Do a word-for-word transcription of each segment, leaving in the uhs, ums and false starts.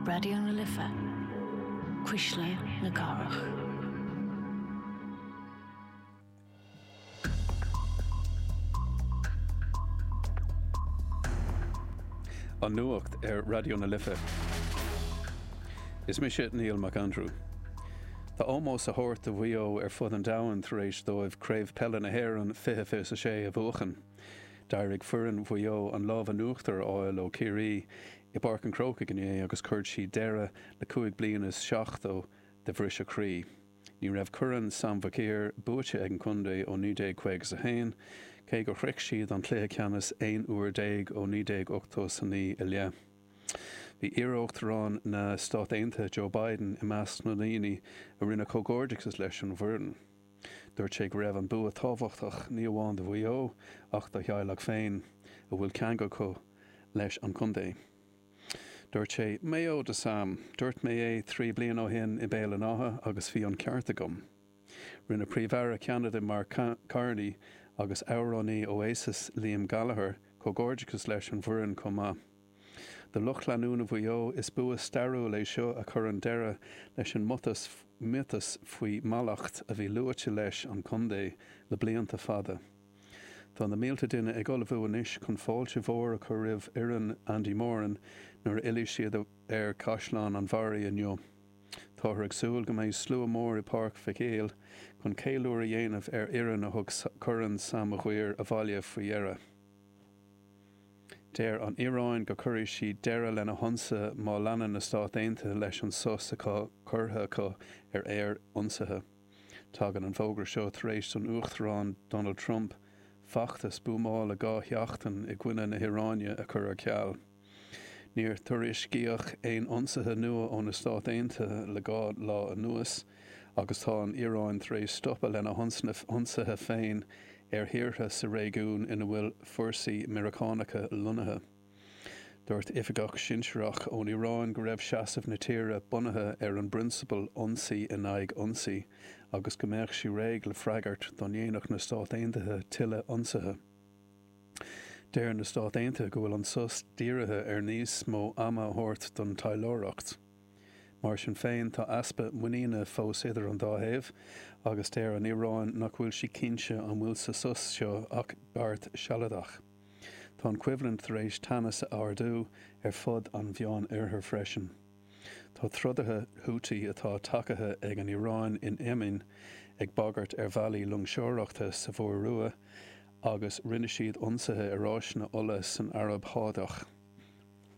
Raidió na Life, Cuisle na Cathrach. An nuacht ar Raidió na Life. Is mise Neil McAndrew. Tá ómós á thabhairt do Mhaigh Eo ar fud an domhain tar éis dóibh Craobh Peile na hÉireann fiche fiche a sé a bhuachan. D'éirigh foireann Mhaigh Eo an lámh in uachtar a fháil ó Chiarraí i bPáirc an Chrócaigh inné agus chuir siad deireadh le cúig bliana is seachtó de bhriseadh croí. Ní raibh Corn Sam Mhic Uidhir buaite ag an chontae ó naoi déag caoga a haon, cé gur shroich siad an cluiche ceannais aon uair déag ó naoi déag ochtó a naoi i leith. Bhí iar-uachtarán na Stát Aontaithe Joe Biden i measc na ndaoine a rinne comhghairdeachas leis an bhfoireann. Dúirt sé go raibh an bua tábhachtach ní amháin do Mhaigh Eo ach dá theaghlach féin, a bhfuil ceangal acu leis an chontae. Dúirt sé, Mayo do Sam, dúirt mé é trí bliana ó shin i Béal an Átha agus bhí an ceart agam. Rinne Príomh-Aire Cheanada Mark Carney agus amhránaí Oasis Liam Gallagher comhghairdeachas leis an bhfoireann chomh maith. Do lucht leanúna Mhaigh Eo, is bua stairiúil é seo a chuireann deireadh leis an miotas faoi mhallacht a bhí luaite leis an chontae le blianta fada. Tá na mílte duine ag ullmhú anois chun fáilte mhór a chur roimh fhoireann Andy Moran nuair a fhillfidh siad ar Chaisleán an Bharraigh inniu. Táthar ag súil go mbeidh slua mór i bPáirc Mhic Éil chun ceiliúradh a dhéanamh ar fhoireann a thug Corn Sam Maguire abhaile faoi dheireadh. Deir an Iaráin go gcuirfidh sí deireadh lena hionsaithe má leanann na Stáit Aontaithe leis an sos atá curtha acu ar aer-ionsaithe. Tagann an fógra seo tar éis don Uachtarán Donald Trump feachtas buamála dhá sheachtain i gcoinne na hIaráine a chur ar ceal. Níor tuairiscíodh aon ionsaithe nua ó na Stáit Aontaithe le dhá lá anuas agus tá an Iaráin tar éis stopadh lena hionsaithe féin ar thíortha sa réigiún ina bhfuil fórsaí Meiriceánacha lonnaithe. Dúirt oifigeach sinsearach ón Iaráin go raibh seasamh na tíre bunaithe ar an bprionsabal ionsaí in aghaidh ionsaí agus go mbeadh sí réidh le freagairt dá ndéanfadh na Stáit Aontaithe tuilleadh ionsaithe. Deir na Stáit Aontaithe go bhfuil an sos dírithe ar níos mó ama a thabhairt don taidhleoireacht. Mar sin féin, tá easpa muiníne fós idir an dá thaobh agus deir an Iaráin nach bhfuil sí cinnte an bhfuil sa sos seo ach beart sealadach. Tá an choimhlint tar éis teannas a ardú ar fud an Mheánoirthir freisin. Tá trodaithe Houthi atá tacaithe ag an Iaráin in Éimin ag bagairt ar bhealaí loingseoireachta sa Mhuir Rua agus rinne siad ionsaithe ar áiseanna ola san Araib Shádach.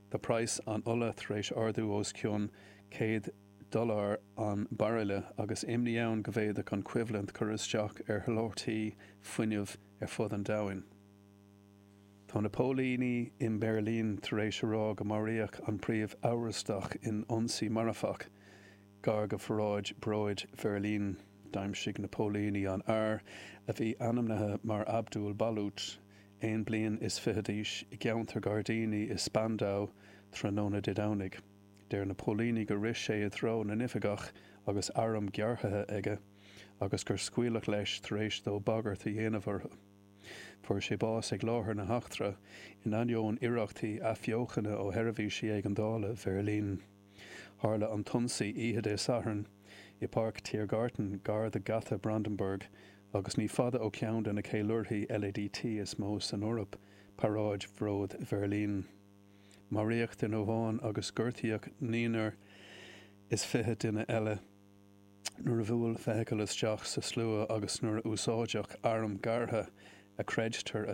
Tá praghas an ola tar éis ardú os cionn céad dollar an bairille agus imní ann go bhféadfadh an choimhlint cur isteach ar sholáthairtí fuinnimh ar fud an domhain. Tá na póilíní i mBeirlín tar éis a rá go maraíodh an príomh-amhrastach in ionsaí marfach gar do Pharáid Bróid Bheirlín. D'aimsigh na póilíní an fear, a bhí ainmnithe mar Abdul Balut, aon bliain is fiche d'aois, i gceantar gairdíní i Spandau tráthnóna Dé Domhnaigh. Deir na póilíní gur rith sé i dtreo na n-oifigeach agus arm gearrtha aige agus gur scaoileadh leis tar éis dó bagairt a dhéanamh orthu. Fuair sé bás ag láthair na heachtra, in ainneoin iarrachtaí athbheochana ó sheirbhísí éigeandála Bheirlín. Tharla an t-ionsaí oíche Dé Sathairn i bPáirc Tiergarten gar do Gheata Brandenburg agus ní fada ó cheann de na ceiliúrthaí LADT is mó san Eoraip, Paráid Bhróid Bheirlín. Maraíodh duine amháin agus gortaíodh naonúr is fiche duine eile nuair a bhuail feithicil isteach sa slua agus nuair a úsáideadh arm gearrtha a chreidtear a